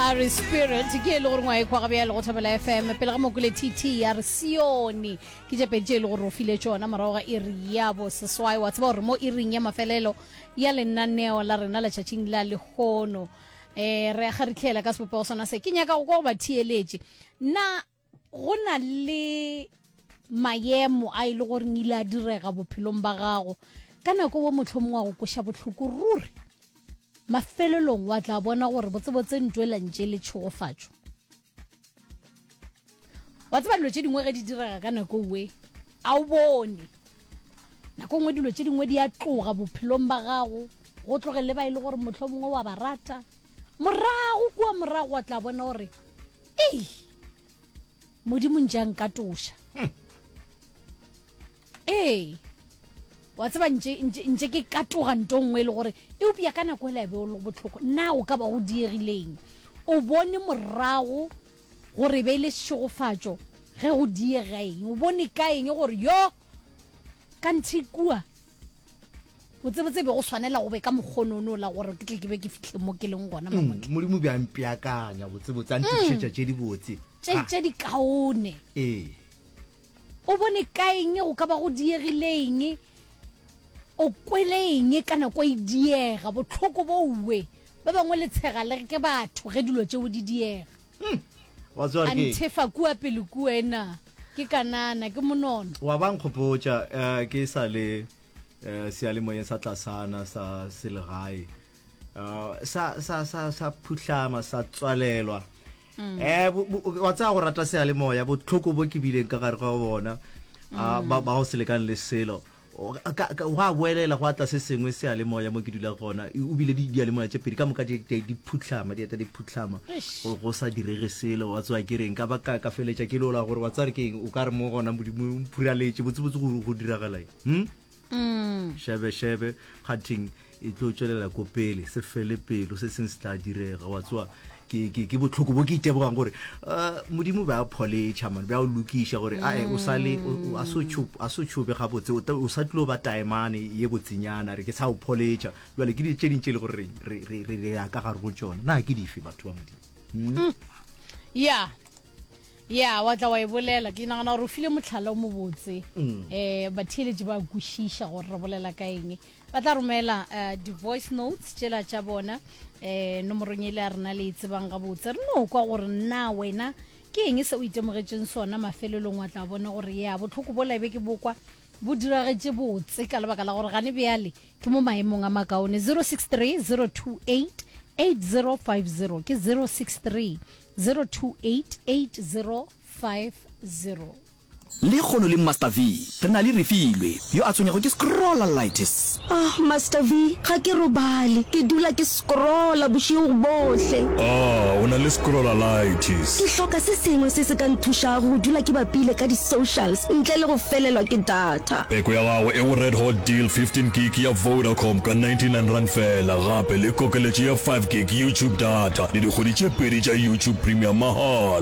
A re Spirit ke e le gore ngwa e kwa gabjale go Thobela FM pele ga mokule TT ya re Sione ke tše pedi tše e le gore o file tšona morago ga iri ya boseswai wa tseba gore mo iring ya mafelelo ya lenaneo la rena letšatšing la lehono eh re a kgaritlhela ka sebopego sona se ke nyaka go kwa go ba theeletše na go na le maemo a e le goreng ile a direga bophelong ba gago ka nako wo mohlomong wa go koša bohloko ruri mafelelong wa tla bona gore botsebotse ntwe la ntše le tšhegofatšo wa tseba dilo tše dingwe ge di direga ka nako we a o bone nako nngwe dilo tše dingwe di a tloga bophelong ba gago go tloge le ba e le gore motlho mongwe wa ba rata morago kua morago wa tla bona gore ei modimo ntše a nkatoša hmm. Ee, wa tseba ntše, ntše, ntše ke katoga nto nngwe e le gore eupša ka nako ela e be o le bohloko. Na o ka ba go diegileng? O bone morago gore e be e le šegofatšo ge go diega eng? O bone ka eng gore yo ka nthe kua botsebotse be go swanela go be ka mokgonono la gore ke tle ke be ke fihle mo ke leng gona mm, modimo be a mpeakanya botsebotse a ntokišetša mm. tše dibotse tše tše dikaone ee O bone ka eng go ka ba go diegile eng? O kwele eng ka nako e diega? Bohloko bo uwe. Ba bangwe le tshega le re ke batho ge dilo tšeo di diega. Hmm. Wa tseba A ke nthefa kua pele kua ena. Ke kanana, ke monono. Wa ba nkgopotša eh, ke sa le eh, seyalemoyeng sa tlasana sa selegae uh, sa sa sa sa phuhlama sa tswalelwa mm. eh wa tsaya go rata seyalemoya botlhoko bo ke bileng ka gare ga bona mm. ba ba go se lekane le selo go a boelela go atla se sengwe seyalemoya mo ke dula gona o bile di diyalemoya tše pedi ka moka di di phuhlama di eta di phuhlama go sa direge selo wa tsewa ke reng ka ba ka ka feletša ke lola gore wa tsaya re ke eng o ka re mo gona modimo o phuraletše botsebotse go go diragala eng hm Mm. Šebe šebe kgathing e tlo tšwelela ko pele se fele pelo se seng se tla direga wa tsoa ke ke ke botlhoko bo ke itebogang gore uh, modimo be a pholetšha man be a o lokiša gore ae o sa le a so tšhope a so tšhobe gabotse o sa tlo ba taemane ye botsenyana re ke sa o pholetšha jwale ke di tše ding tše le gore re re re re ya ka gare go tšona na ke dife batho ba modimo hmm? mm. ya Ya, wa tla wa e bolela. Ke nagana gore o file mohlala o mobotse. Um batheeletši ba kwešiša gore re bolela ka eng. Ba tla romela uh, di-voice notes tšela tša bona um nomorong e le ya rena le e tsebang gabotse. Re no kwa gore na wena ke eng se o itemogetšeng sona mafelelong wa tla bona gore ya bohloko bola e be ke bokwa bo diragetše botse ka lebaka la gore gane bjale ke mo maemong a makaone 063 028 8050 ke 063 0288050. Lekgono le Master V, re na le Refilwe, yo a tshwenyago ke scrollalitis. Ah, Master V, ga ke robale. Ke dula ke scrolla bošego bohle. Ah, o na le scrollalitis. Ke hloka se sengwe se se ka nthušago go dula ke bapile ka di-socials ntle le go felelwa ke data. Peko ya gago e go Red Hot Deal 15 gig ya Vodacom ka R99 feela, gape le kokeletšo ya 5 gig YouTube data le dikgwedi tše pedi tša YouTube Premium mahala.